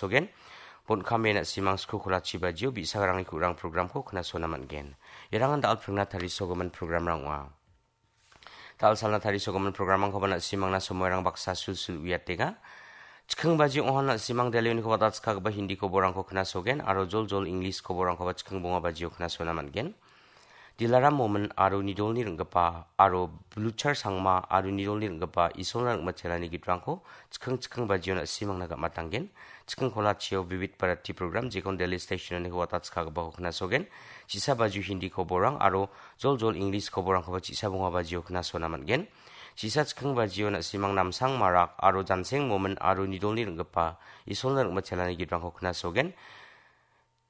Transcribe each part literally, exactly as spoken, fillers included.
sogen. Bon·kame na·simang sku kolachi bajio bi·sagrangni ku·rang programko knasona man·gen. Iarangan dal·pringna tarisogimin programrang ong·a. Dal·salna tarisogimin programrangkoba na·simangna somoirang baksa sulsul uiatenga. Chiking bajio ong·a na·simang Delhi uniko watatskagipa Hindi koborangko knasogen aro joljol English koborangkoba chiking bonga bajio knasona man·gen. Dilaram Momin aro Nidolni ring·gipa aro Bluchar Sangma aro Nidolni ring·gipa Isolna ring·mitelani gitrangko chiking chiking bajio na·simangna gam·atanggen. Chiking kolachio Vivid Bharati program jekon Delhi station-oniko watatskagipako knasogen. Chisa bajio Hindi koborang aro joljol English koborangkoba chisa bonga bajio knasona man·gen. Chisa chiking bajio na·simang Namsang Marak aro Janseng Momin aro Nidolni ring·gipa Isolna ring·mitelani gitrangko knasogen.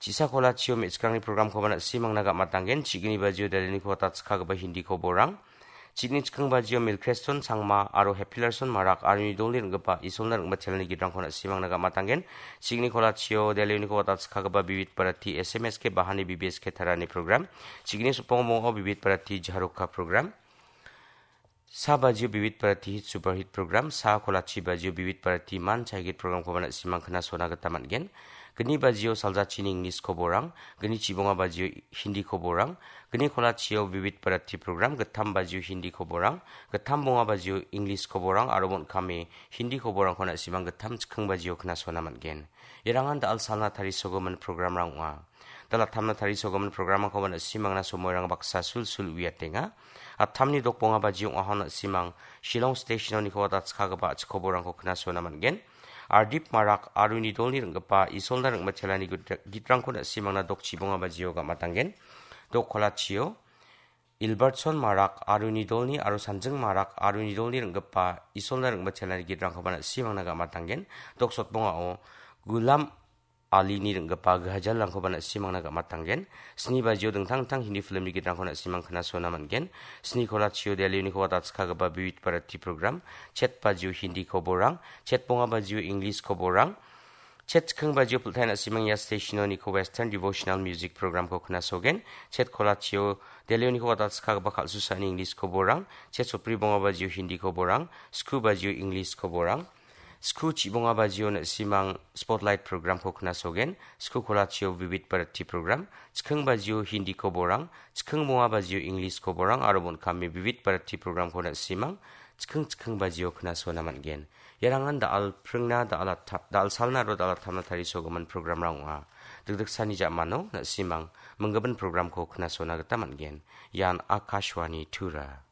Chisa kolachio me·chikrangni programkoba na·simangna gam·atanggen. Chigni bajio Delhi-niko watatskagipa Hindi koborang. Chigni chiking bajio Milkreston Sangma aro Heppilarson Marak aro Nidolni ring·gipa Isolna ring·mitelani gitrangko na·simangna gam·atanggen. Chigni kolachio Delhi-niko watatskagipa Vivid Bharati S M S K Bahani B B S K Tarani program. Chigni sopong bongo Vivid Bharati Jaroka program. Sa bajio Vivid Bharati Hit Superhit program, sa kolachi bajio Vivid Bharati Man Chaigit programkoba na·simang knasona gita man·gen. Gni bajio Saljachini English koborang, gni chibonga bajio Hindi koborang, gni kolachio Vivid Bharati program, gittam bajio Hindi koborang, gittam bonga bajio English koborang, aro bon·kame Hindi koborangko na·simang gittam chiking bajio knasona man·gen. Irangan dal·salna tarisogimin programrang ong·a. Dal·attamna tarisogimin programrangkoba na·simangna somoirang baksa sulsul uiatenga. Attamni dokbonga bajio ong·aha na·simang Shillong station-oniko watatskagipa a·chik koborangko knasona man·gen. Ardip Marak aro Nidolni ring·gipa Isolna ring·mitelani git-, gitrangko na·simangna dok chibonga bajio gam·atanggen. Dok kolachio Ilbertson Marak aro Nidolni aro Sanjing Marak aro Nidolni ring·gipa Isolna ring·mitelani gitrangkoba na·simangna gam·atanggen. Dok sotbongao Gulam Alini ring·gipa gihajalrangkoba na·simangna gam·atanggen. Sni bajio dingtang dingtang Hindi filmni gitrangko na·simang knasona man·gen. Sni kolachio Delhi-niko watatskagipa Vivid Bharati program, chet bajio Hindi koborang, chet bonga bajio English koborang, chet chiking bajio pultai na·simang ia station-oniko Western Devotional Music programko knasogen. Chet kolachio Delhi-niko watatskagipa kal·susaani English koborang, chet sotbri bonga bajio Hindi koborang, sku bajio English koborang, sku chibonga bajio na·simang Spotlight programko knasogen, sku kolachio Vivid Bharati program, chiking bajio Hindi koborang, chiking bonga bajio English koborang, aro bon·kame Vivid Bharati programko na·simang chiking chiking bajio knasona man·gen. Iarangan dal·pringna dal-atta-, dal·salna aro dal·attamna tarisogimin programrang ong·a. Dikdiksani ja·mano na·simang minggimin programko knasona gita man·gen. Ian Akashvani Tura.